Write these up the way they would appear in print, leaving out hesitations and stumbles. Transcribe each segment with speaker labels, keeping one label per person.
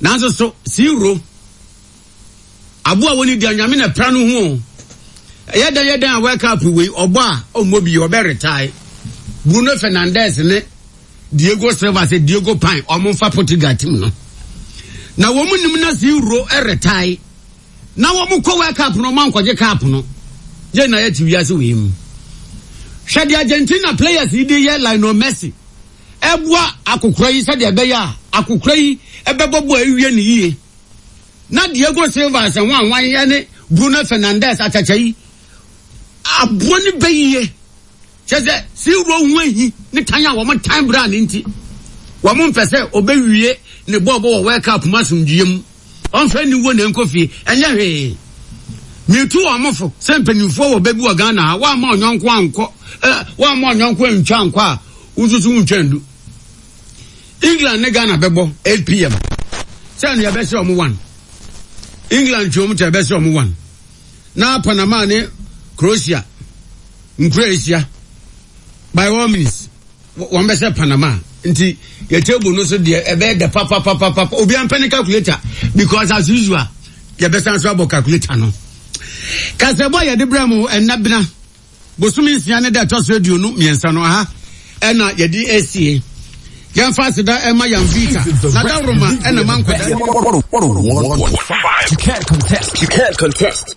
Speaker 1: Nanso so Siwuro, aboa a wɔnni deɛ Nyame na pra no ho o. Ɛyɛ dɛn yɛ dɛn a World Cup wei ɔbɔ a ɔmmɔ bi ɔbɛ retae. Bruno Fernandes ne Diego Silva sɛ Diego Pan wɔn mfa Portugal team no. Na wɔn nim na Siwuro retae. Na wɔn kɔ World Cup no wɔn ankɔgye cup no. Yɛn na yɛte wiase wei mu. Hwɛ deɛ Argentina players yi de yɛ Lionel Messi. Ɛboa akokora yi sɛdeɛ ɛbɛyɛ a akokora yi bɛbɔ bɔ awie no yie. Na Diego Silva sɛ hwanhwan ne Bruno Fernandes akyakya yi aboa no bɛ yie. Kyerɛ sɛ Silva ho ahi ne tan a wɔn tan bra ne nti wɔn mpɛ sɛ ɔbɛwie ne bɔɔlbɔ wɔ World Cup mu asomdwoeɛ mu. Ɔmfa aniwuo na ɛnkɔ fie, ɛnyɛ hwee. Metu wɔn fo sɛ mpanimfoɔ wɔ bɛ bi wɔ Ghana ha, woamma ɔnyɔnko ankɔ, eh, woamma ɔnyɔnko antwa ankɔ a, wo nso so wontwa ndu. England ne Ghana bɛbɔ 8 pm. Sɛ no yɛbɛhyɛ wɔn one. England twe wɔn kyɛ yɛbɛhyɛ wɔn one. Na Panama ne Croatia nkura ahyia by all means. Wɔn bɛhyɛ Panama nti yɛ table no so deɛ ɛbɛyɛ dɛ papapapapa obi ampɛ ne calculator because as usual yɛbɛsan so abɔ calculator no. Kasɛbɔ a yɛde brɛ mo ɛnna bena bosome nsia ne da ɛtɔ so 23 no aha ɛna yɛde asie. Yɛmfa aseda ɛma yɛn vita na dawuroma ɛna ma nkɔda.
Speaker 2: You can't contest. You can't contest.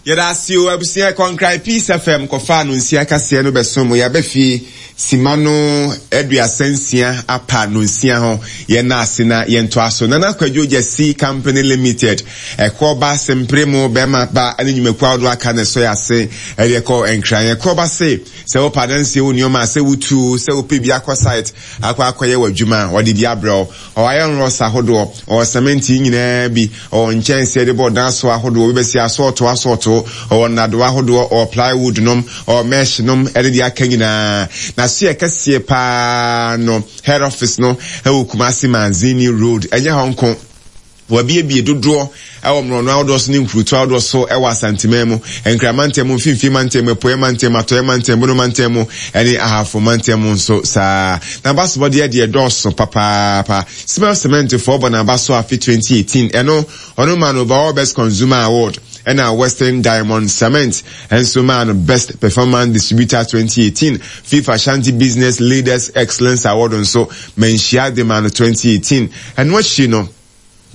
Speaker 3: Yɛda ase o abusua Kɔnkran Peace FM kɔfaa no nsia kaseɛ no bɛso mo yɛaba fie sima no 36 apa no nsia ho yɛn ase na yɛntoa so Nana Kwadwo Gyasi Company Limited ɛkɔ ba sempere mo bɛrima ba ne nnwumakuo ahodoɔ aka na ɛsɔ yɛ ase ɛde ɛkɔ Nkran ɛkɔ ba se sɛ wopɛ adansie wo nneɛma sɛ wotuo sɛ wopɛ bi akɔ site akɔ akɔyɛ w'adwuma wɔde bi abrɛ wo Ɔwɔ iron rods ahodoɔ, ɔwɔ cement yi nyinaa bi, ɔwɔ nkyɛnsee yɛde bɔ dan so ahodoɔ, obi bɛsi asɔɔto asɔɔto, ɔwɔ nnadewa ahodoɔ, ɔwɔ plywood nom, ɔwɔ mesh nom ɛne deɛ aka nyinaa. N'asoɛ kɛseɛ paa no, head office no ɛwɔ Kumasi Manzini Road, ɛnyɛ hɔ nko. Wɔabiebie dodoɔ wɔ mmorɔno ahodoɔ so ne nkurutoɔ ahodoɔ so wɔ Asanteman mu, Nkran mantam mu, Mfimfini mantam mu, Apueɛ mantam mu, Atɔeɛ mantam, Bono mantam mu ne Ahafo mantam mu nso saa ara. N'abasobɔdeɛ deɛ dɔɔso papaapa. Smell Cement foɔ bɔ n'aba so afe 2018, ɛno ɔno maa no Overall Best Consumer Award ɛna Western Diamond Cement nso maa no Best Performance Distributor 2018, FIFA Ashanti Business Leaders Excellence Award nso Manhyia de maa no 2018. Ɛno akyi no,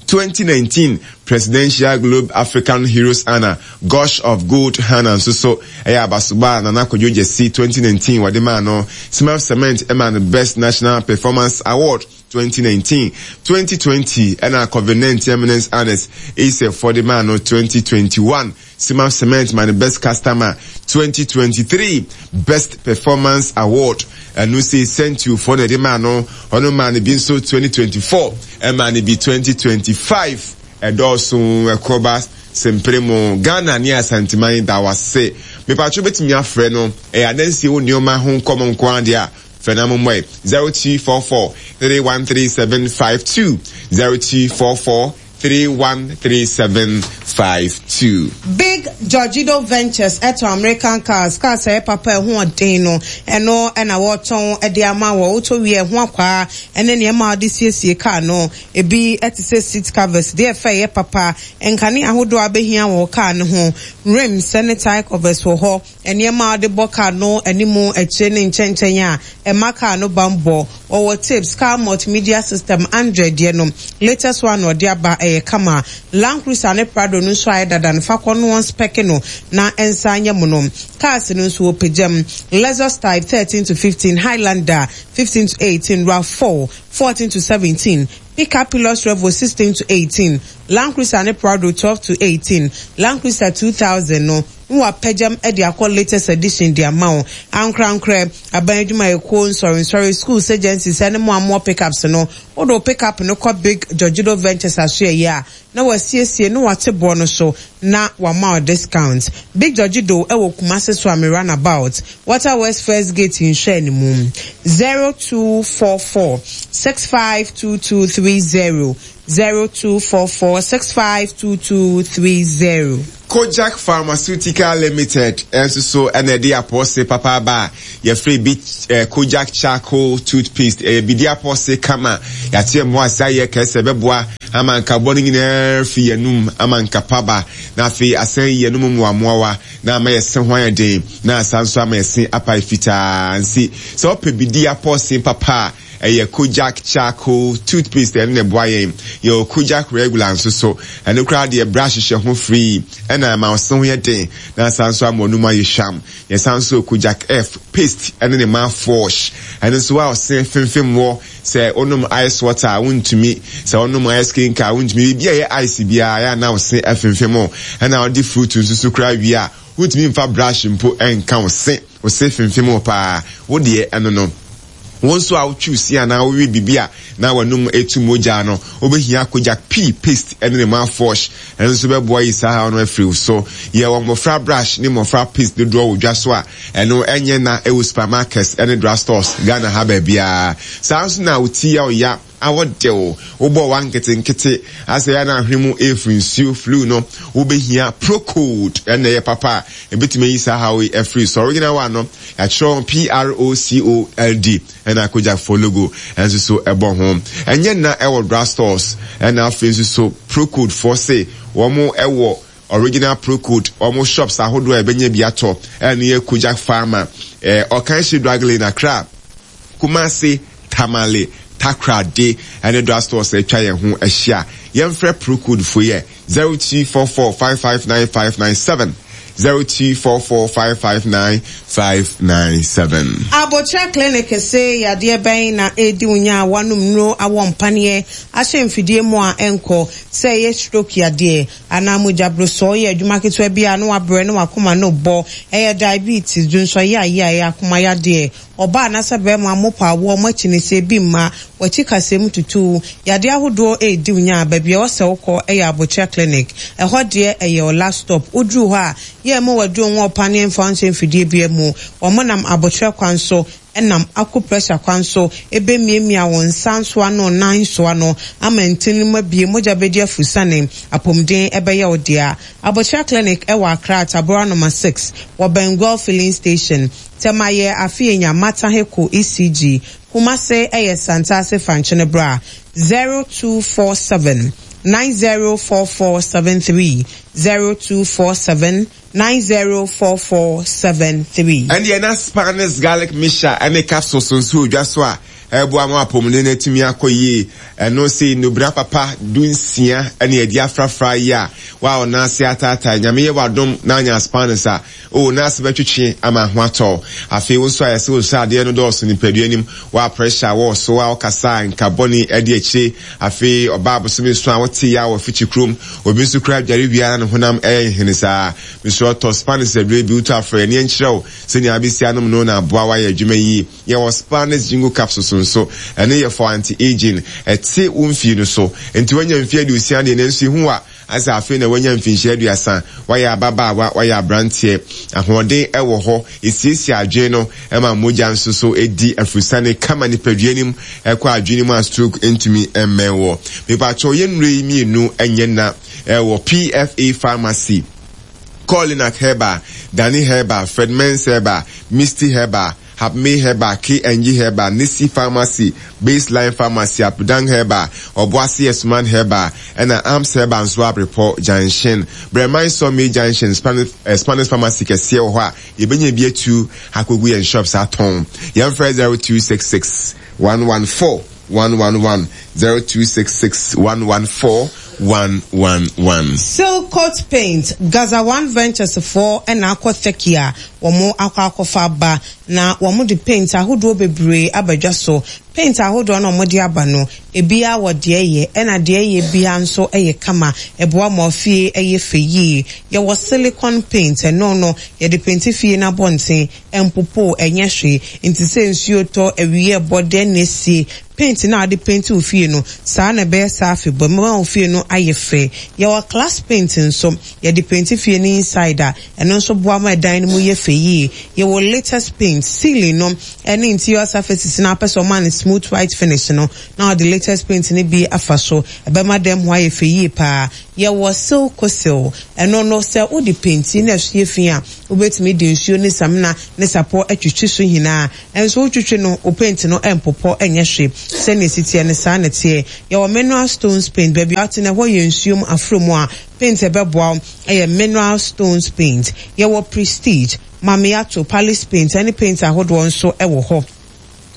Speaker 3: 2019 Presidential Globe African Heroes Honour, Gush of Gold Honour nso so yɛ abasobɔ a Nana Kwadwo Gyasi 2019 wɔde maa no. Smurf Cement maa no Best National Performance Award 2019. 2020 ɛna Covid-19 Eminence Honours ASEF foɔ de maa no 2021. Simaf Cement ma no Best Customer 2023 Best Performance Award. Ɛno sei Sentuo foɔ na ɛde maa no. Ɔno maa no bi nso 2024, ɛmaa no bi 2025. Ɛdɔɔso ɛkɔba sempere mo. Ghana ne Asanteman da wo ase. Mepatwo wobɛtumi afrɛ no. Ɛyɛ adansie wo nneɛma ho nkɔmɔ nko ara deɛ a, frɛ na mommɔe. 0244 313752 0244 313752.
Speaker 4: Big Georgido Ventures tɔn American cars, cars a ɛyɛ papa a ɛho ɔden no, ɛno na wɔtɔn de ama wɔ. Wotɔ wie a, ɛho akwaa ne nneɛma a wɔde siesie car no, ebi te sɛ seat covers, deɛ ɛfɛ a ɛyɛ papa, nkanea ahodoɔ a wobɛhia wɔ wo car no ho, rims ne tyre covers wɔ hɔ. Nneɛma a wɔde bɔ kar no anim, akyire ne nkyɛnkyɛn a ɛma kar no bammɔ. Wɔwɔ tips, car multimedia system, Android deɛ no, latest one na wɔde aba, ɛyɛ kama. Land Cruiser ne Prado no nso ayɛ dada no, fa kɔ no wɔnspɛke no na ɛnsan nyɛ mono. Cars no nso wɔpagya mu, Lexus Type 13 to 15, Highlander 15 to 18, Rav4 14 to 17, Pickup Hilux Revo 16 to 18, Land Cruiser ne Prado 12 to 18, Land Cruiser 2000 no, na wɔapagya mu de akɔ latest edition de ama wo. Ankorankorɛ, aban adwumayɛkuo, nsɔrensɔre, schools, agencies ne mo a mowɔ pickups no, wode wo pickup no kɔ Big Georgido Ventures asoɛeɛ a, na wɔasiesie na wɔate boɔ no so na wɔama wo discount. Big Georgido wɔ Kumasi Suame Runabout, Water Works First Gate nhwɛanimu. 0244 652230. 0244 652230.
Speaker 3: Kojak Pharmaceutical Limited nso so na ɛde apɔɔse papa aba a yɛfrɛ bi Kojak Charcoal Toothpaste. Ɛyɛ bidi apɔɔse kama. Yɛate ɛmo ase ayɛ kɛse ɛbɛboa ama nkabɔ no nyinaa fi yɛn anum ama nkapa ba, na afei asan ayi yɛn anum mmoammoawa na ama yɛn se ho ayɛ den, na asan nso ama yɛn se apae fitaa. Nti sɛ wopɛ bidi apɔɔsen papa a, ɛyɛ Kojak Charcoal Toothpaste, ɛno na ɛboa yɛn. Yɛwɔ Kojak Regular nso so, ɛno koraa deɛ brush hyɛ ho free, ɛna ɛma wo se ho yɛ den, na asan nso ama w'anum ayɛ hwam. Yɛsan nso wɔ Kojak F Paste ɛne ne mouthwash, ɛno nso a ɔse femfem wɔ. Sɛ wonom ice water a, wontumi. Sɛ wonom ice kenka a, wontumi. Biribi a ɛyɛ ice biara, ɛyɛ a na wo se afemfem wo. Ɛna wode fruit nso so koraa wie a, wontumi mfa brush mpo nka wo se. Wo se femfem wo paa. Wo deɛ, ɛno no. Wo nso a wotwe wo se anaa wowe biribi a na w'anom retu mogya no, wobɛhia Kojak Pea Paste ne ne mouthwash. Ɛno nso bɛboa ayi saa haw no afiri wo so. Yɛwɔ mmɔfra brush ne mmɔfra paste dodoɔ wɔ dwa so a ɛno ɛnyɛ na ɛwɔ supermarkets ne drugstores Ghana ha baabiara. Saa nso na wo ti yɛ wo ya, awɔ de wo, wobɔ wa nketenkete, asɛ yɛ a na ahwene mu refiri nsuo, flu no, wobɛhia Procold, ɛno na ɛyɛ papa a ɛbɛtumi ayi saa haw yi afiri so. Original one no, yɛatwerɛ ho P-R-O-C-O-L-D. Ɛna Kojak-foɔ logo nso so ɛbɔ ho. Ɛnyɛ nna ɛwɔ drug stores. Ɛna afei nso so Procold foɔ se wɔn ɛwɔ original Procold wɔn shops ahodoɔ a ɛbɛnya bi atɔ. Ɛno yɛ Kojak Pharma, ɛɛ Ɔkanhye Drug Lane, Accra, Kumasi, Tamale, Takoradi ɛne drug stores a atwa yɛn ho ahyia. Yɛnfrɛ Procold foɔ yi ɛ. 0244 559 597 0244 559 597.
Speaker 4: Abokyerɛ Clinic se yadeɛ bɛn na ɛredi wo nya a woanom nnuro awɔ mpaneɛ ahyɛ mfidie mu a ɛnkɔ, sɛ ɛyɛ stroke yadeɛ anaa mogya brosɔɔ yɛ adwuma ketewa bi a na wabrɛ na wakoma no bɔ, ɛyɛ diabetes, dwonsɔ yayaɛ, akoma yadeɛ, Ɔbaa anaasɛ barima mopɔ awoɔ mo akyi no sɛ ebi mma, w'akyi kasɛɛ mu tutu wo, yadeɛ ahodoɔ redi wo nya a, baabi a ɛwɔ sɛ wokɔ yɛ Abokyerɛ Clinic. Ɛhɔ deɛ ɛyɛ wo last stop. Woduru hɔ a, yɛ mma w'aduro nwɔ wo paneɛ mfa wo nhyɛ mfidie biara mu. Wɔn nam abokyerɛ kwan so, nam acupressure kwan so bɛmiamia wo nsa nsoa ne wo nan nsoa no ama ntini no mu abue, mogya bɛdi afurusane, apomuden bɛyɛ wo dea. Abokyerɛ Clinic wɔ Accra, Tabora Nɔma 6, wɔ Benguel Filling Station. Tema yɛ Afeenya Mataheko ECG, Kumase yɛ Santase Fankyene Bra, 0247 904473, 0247 904473.
Speaker 3: Ɛndeɛ na Spanish garlic mixture ne capsules nso wɔ dwa so a ɛboa ma w'apɔmuden no atumi akɔ yie. Ɛno sei nnubena papa dunsia na yɛde afrafra yi a wo a wo nan ase ataatae Nyame yɛ w'adom na anya Spanish a O, n'ase bɛtwetwe ama ho atɔ wo. Afei wo nso ayɛ sɛ wo sradeɛ no dɔɔso nipadua no mu, wo a pressure wɔ wo so, a wokasa a nka bɔne adi akyire. Afei ɔbaa bosome nson a wote yaw wɔ fikyi kurom. Obi nso koraa dware wie ara na ne honam yɛ nhene saa. Mesrɛ wo tɔ Spanish aduro bi, wotɔ a frɛ yɛn na yɛnkyerɛ wo sɛnea wobɛsi anom no na aboa wo ayɛ adwuma yie. Yɛwɔ Spanish Jingo capsules nso, ɛno yɛ for anti-aging, ɛte wo mfie no so. Nti woanya mfie aduosia deɛ nanso ehu wo a, Ayɛ sɛ afei na wanya mfinhyia aduasa, wayɛ ababaawa, wayɛ aberanteɛ. Ahoɔden wɔ hɔ, ɛsiesie adwene no, ɛma mogya nso so di afurusane kama nipadua no mu, ɛkɔ adwene no mu a stroke ntumi mmɛn wɔ. Mepakyɛw yɛn nnuro yi mmienu nyɛ nna wɔ PFA Pharmacy, Colinac Herbal, Dani Herbal, Fred Mens Herbal, Misty Herbal, Hapmay Herbal, KNG Herbal, Nisi Pharmacy, Baseline Pharmacy, Apudang Herbal, Obuasi Asuman Herbal, ɛna Arms Herbal nso Abrepɔ Junction, Brɛman Sawmill Junction, Spanish, eh, Spanish Pharmacy kɛseɛ wɔ hɔ a yɛbɛnya bi atu akɔgu yɛn shops atɔn. Yɛmfrɛ 0266 114 111, 0266 114 111.
Speaker 4: Silcoat Paint, Gaza One Ventures foɔ na akɔ Turkey a wɔn akɔ akɔfa aba na wɔn de paint ahodoɔ bebree aba dwa so. Paint ahodoɔ no a wɔn de aba no, ebiara wɔ deɛ ɛyɛ ɛna deɛ ɛyɛ biara nso yɛ kama, ɛboa ma fie yɛ fɛ yie. Yɛwɔ silicon paint, ɛno no yɛde painti fie no abɔnten, ɛmpopo, ɛnyɛ hwee. Nti sɛ nsuo tɔ, awia ɛbɔ, dɛn na ɛsie, paint no a wode painti wo fie no, saa na ɛbɛyɛ saa afebɔɔ, ɛbɛma wo fie no ayɛ fɛ. Yɛwɔ glass paint nso, yɛde painti fie no inside a, ɛno nso boa ma ɛdan no mu yɛ fɛ yie. Yɛwɔ latest paint, ceiling no ne interior surfaces no a wopɛ sɛ wɔma no. smooth white finish no na wɔde latest paint no bi afa so. Ɛbɛma dan mu hɔ ayɛ fɛ yie paa. Yɛwɔ Silcosil. Ɛno no, sɛ wode penti na ɛso yɛ fi a, wobɛtumi de nsuo ne samina ne sapɔ atwitwi so nyinaa. Nso wotwitwi no, wo paint no mpopɔ nyɛ hwee. Sɛnea ɛsi teɛ no, saa na ɛteɛ. Yɛwɔ mineral stones paint. Baabi a wote no, ɛhɔ yɛ nsuo mu, aforo mu a, paint a ɛbɛboa wo yɛ mineral stones paint. Yɛwɔ Prestige, Mamiato, Palace paint ne paint ahodoɔ nso wɔ hɔ.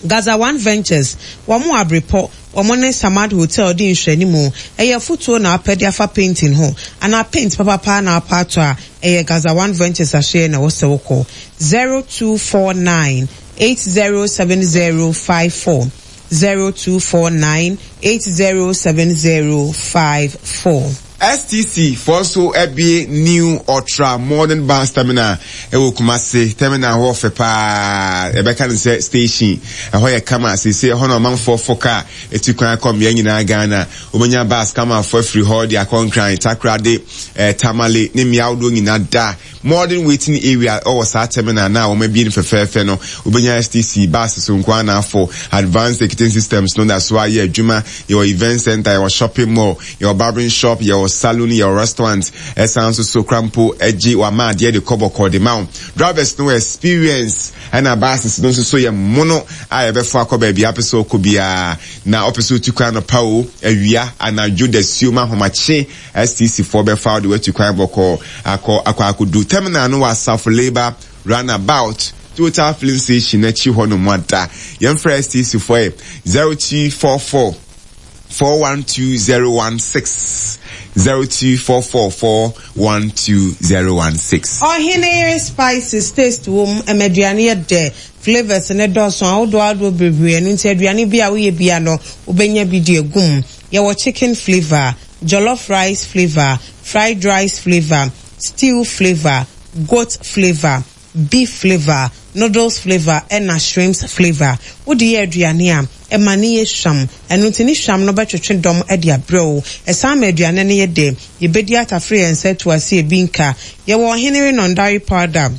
Speaker 4: Gaza One Ventures, wɔn wɔ Abrepɔ, wɔn ne Samad Hotel di nhwɛanimu. Ɛyɛ afutuo na wopɛ de afa painting ho anaa paint papapa na wopɛ atɔ a, ɛyɛ Gaza One Ventures ahyeɛ na ɛwɔ sɛ wokɔ. 0249 807054, 0249 807054.
Speaker 3: STC foɔ nso abue New Ultra Modern Bus Terminal wɔ Kumasi. Terminal hɔ fɛ paa, yɛbɛka no sɛ station. Ɛhɔ yɛ kama seesei, ɛhɔ na ɔmanfoɔ fo kaa tu kwan kɔ mmea nyinaa Ghana. Wobɛnya bus kamafoɔ afiri hɔ de akɔ Nkran, Takoradi, eh, Tamale ne mmea ahodoɔ nyinaa da. Modern waiting area wɔ saa terminal no a wɔabue no fɛfɛɛfɛ no. Wobɛnya STC bus so nko ara na afo. Advanced ticketing systems no da so ara yɛ adwuma. Yɛwɔ event center, yɛwɔ shopping mall. Yɛwɔ barbering shop, yɛwɔ saloon, yɛwɔ restaurant, ɛsan nso so kora mpo gye wama adeɛ de kɔ bɔkɔɔ de ma wo. Drivers no wɔ experience ɛna buses no nso so yɛ mono a yɛbɛfa akɔ baabi a wopɛ sɛ wokɔ biara. Na wopɛ sɛ wotu kwan anɔpa o, awia, anadwo, dasuom, ahomakye, STC foɔ bɛfa wo de woatu kwan bɔkɔɔ akɔ akɔ akɔdu terminal no wɔ Asafo Labour Runabout Total Filling Station akyi hɔ nom ada. Yɛmfrɛ STC foɔ ɛ 0244 412016 0244412016.
Speaker 4: Ɔhene yere spices taste wom ɛma aduane yɛ dɛ, flavours no dɔɔso ahodoɔ ahodoɔ bebree ɛno nti aduane bi a woyɛ bia no wobɛnya bi de agu mu. Yɛwɔ chicken flavour, jollof rice flavour, fried rice flavour, stew flavour, goat flavour, beef flavour, noodles flavour ɛna shrimps flavour. Wode yɛ aduane a, ɛma no yɛ hwam. Ɛno nti ne hwam no bɛtwetwe dɔm de abrɛ wo. Ɛsan ma aduane no yɛ dɛ. Yɛbɛdi atafere yɛn nsa atu ase ebi nka. Yɛwɔ Ɔhene Renondari powder,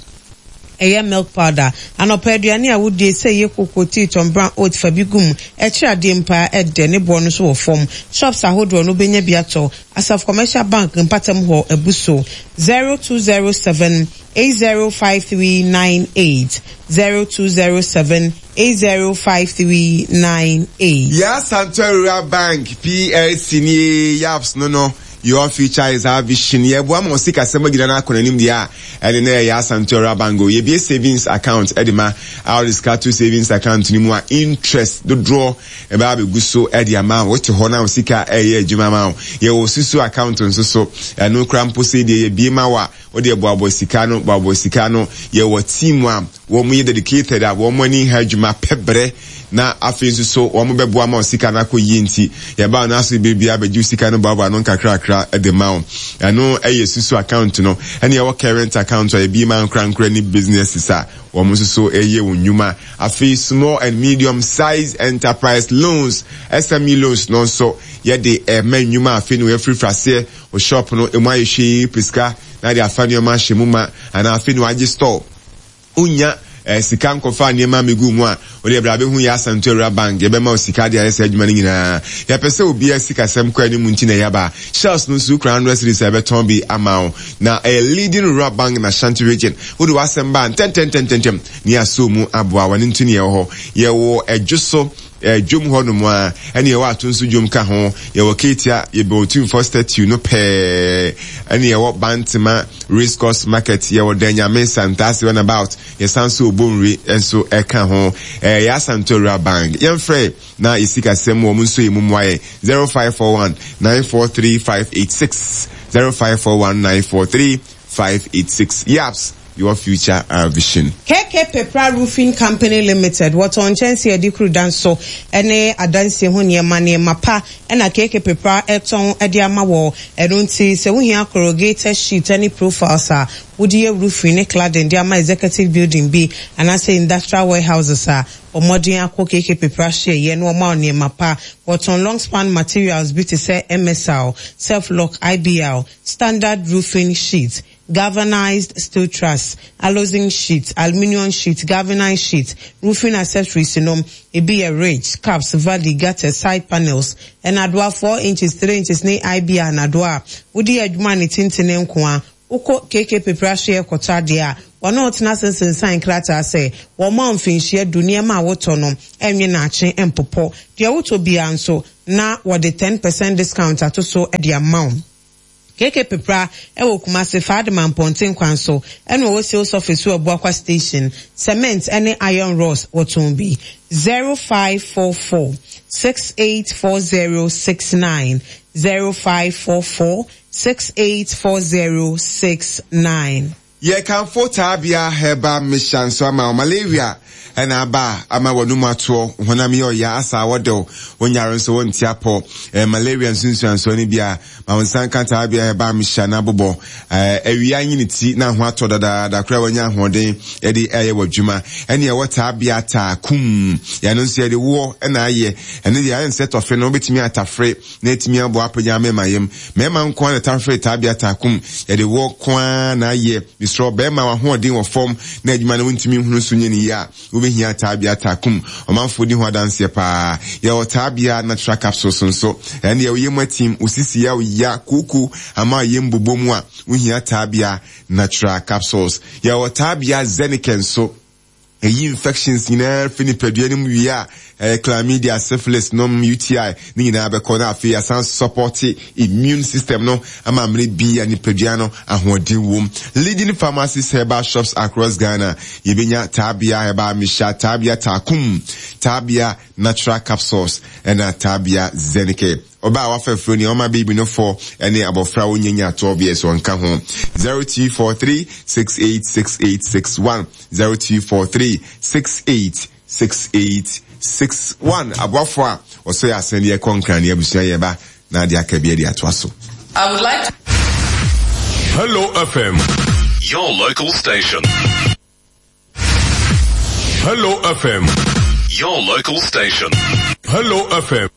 Speaker 4: ɛyɛ milk powder. Anɔpa aduane a wodie, sɛ ɛyɛ koko, tea, Tom Brown, oat, fa bi gu mu. Ɛkyere adeɛ mpo ara, ɛdɛ. Ne boɔ no nso wɔ fam. Shops ahodoɔ no wobɛnya bi atɔ. Asaf Commercial Bank mpatam hɔ abu so. 0207 805398, 0207 805398.
Speaker 3: Yaa Santua Rural Bank PLC nie Yaps no no Your future is our vision Yɛboa ma wo sikasɛm agyina na akɔ n'anim deɛ a ɛne na ɛyɛ Yaa Santua Rural Bank o Yɛbue savings account de ma a wode sika to savings account no mu a interest dodoɔ ɛbɛba abɛgu so de ama wo Wote hɔ na wo sika ɛreyɛ adwuma ma wo Yɛwɔ susu account nso so ɛno koraa mpo sei deɛ yɛbue ma wo a Wo deɛ boaboa sika ano, boaboa sika ano. Yɛwɔ team a wɔn yɛ dedicated a wɔn ani nha adwuma pɛ brɛ na afei nso so wɔn bɛboa ma wo sika no akɔ yie nti yɛba no aso bere biara bɛgye wo sika no boaboa ano nkakrakra de ma wo. Ɛno yɛ susu account no. Ɛna yɛwɔ current account a yɛbie ma ankorankora ne businesses a wɔn nso so yɛ wɔn nnwuma. Afei small and medium size enterprise loans, SME loans no nso yɛde ɛma nnwuma afei na wɔafirifiri aseɛ. Wo shop no emu ayɛ hwee pɛ sika na de afa nneɛma ahyɛ mu ma anaa afei na wagye store. Wonnya eh, sika nkɔfa nneɛma mmegu mu a, wode bra bɛhu yɛ Asanto Awura Bank, yɛbɛma wo sika de ayɛ saa adwuma no nyinaa. Yɛpɛ sɛ obiara sikasɛm kɔ anim nti na yɛaba. Shells no nso wokura 100 cedis a yɛbɛtɔn bi ama wo. Na ɛyɛ leading rural bank in Ashanti region. Wode w'asɛm ba a, ntɛntɛntɛntɛntɛm na yɛasɔ mu aboa wo. Ɛno nti na yɛwɔ hɔ. Yɛwɔ Ɛdwo so. Dwom hɔ nom a, ɛne yɛwɔ ato nso dwom ka ho. Yɛwɔ Ketia, yɛbɛn Otumfoɔ statue no pɛɛ. Ɛne yɛwɔ Bantema Race Course Market, yɛwɔ Danyame, Santase Runabout, yɛsan nso wɔ Bonwire nso ɛka ho. Ɛyɛ Asante Owura Bank. Yɛmfrɛ na yɛ sikasɛm wɔn nso yɛ mu mmoa yɛn. 0541 943 586, 0541 943 586. Yaps! Your future our vision.
Speaker 4: KK Pepra Roofing Company Limited, Wɔtɔn nkyɛnsee a yɛde kuru dan so ne adansie ho nneɛma, nneɛma pa na KK Pepra tɔn de ama wɔ. Ɛno nti, sɛ wohia corrugated sheet ne profiles a wode yɛ roofing ne cladding de ama executive building bi anaasɛ industrial warehouses a, bɔ mmɔden akɔ KK Pepra hyeɛeɛ na wɔma wo nneɛma pa. Wɔtɔn long span materials bi te sɛ MSR, Self-Lock, IBR, standard roofing sheet. Galvanized steel truss, alozing sheet, aluminium sheet, galvanized sheet, roofing accessories nom, ebi yɛ ridge, caps, valley, gutters, side panels, nnadoa four inches, three inches ne IB a nnadoa a wode yɛ adwuma a ne tintini nko ara. Wokɔ KK Pepra Ahyeɛ kɔtɔ adeɛ a, wɔne wo tena ase nsensan nkrataa sɛ wɔmma wo mfinhyia du nneɛma a wotɔ no nwe naakye mpopɔ. Deɛ wotɔ biara nso na wɔde ten percent discount ato so de ama wo. KK Pepra wɔ Kumasi, Faadima Mpɔnten kwan so, ɛna ɔwɔ sales office wɔ Abuakwa Station. Cement ne iron rods wɔtɔn bi. 0544 684069, 0544 684069.
Speaker 3: Yɛkamfo Taabea Herbal Mixture nso ama wo. Malaria na aba a ama w'anum atoɔ, wo honam yɛ ɔya, asa awɔ de wo, wo nyare nso wonte apɔ. Ɛyɛ malaria nsunsuansoɔ no bi a, ma wo nsa nka Taabea Herbal Mixture na bobɔ. Awia nyini ti na ho atɔ dadaada koraa wanya ahoɔden de ayɛ w'adwuma. Ɛne ɛwɔ Taabea taa kum. Yɛno nso yɛde woɔ na ayɛ. Ɛno deɛ ayɛ nsɛ tɔfe no wobɛtumi atafere na atumi aboa apagya mmarima yam. Mmarima nko ara na tafere taabea taakum. Yɛde wɔ nko ara na ayɛ. Mesrɛ wo, barima a w'ahoɔden wɔ fam na adwuma no wontumi nhunu so nyɛ no yie a, wobɛhia taabea taakum. Ɔmanfoɔ di ho adanseɛ paa. Yɛwɔ taabea natural capsules nso. Ɛno deɛ wo yam atim, wo sisi yɛ wo ya, kooko ama wo yam bobɔ mu a, wohia taabea natural capsules. Yɛwɔ taabea zenicare nso. Eyi infections nyinaa fi nipadua no mu wie a, ɛyɛ chlamydia, syphilis nom, UTI ne nyinaa bɛkɔ na afei asan sɔpɔte immune system no ama mmere bi a nipadua no ahoɔden wom. Leading pharmacies herbal shops across Ghana, yɛbɛnya Taabea Herbal Mixture, Taabea Taakum, Taabea Natural Capsules ɛna Taabea Zenicare. Ɔbaa a wafa afuro nea ɔma baby no fɔ ne abɔfra a ɔnnya nyaa 12 years ɔnka ho. 0243 686861 0243 686861 Aboafo a wɔsɔ yɛ asɛn de ɛkɔ Nkran ne abusua yɛ ba na ade aka bi de atoa so.
Speaker 5: I would like to.
Speaker 6: Hello FM, your local station. Hello FM, your local station. Hello FM.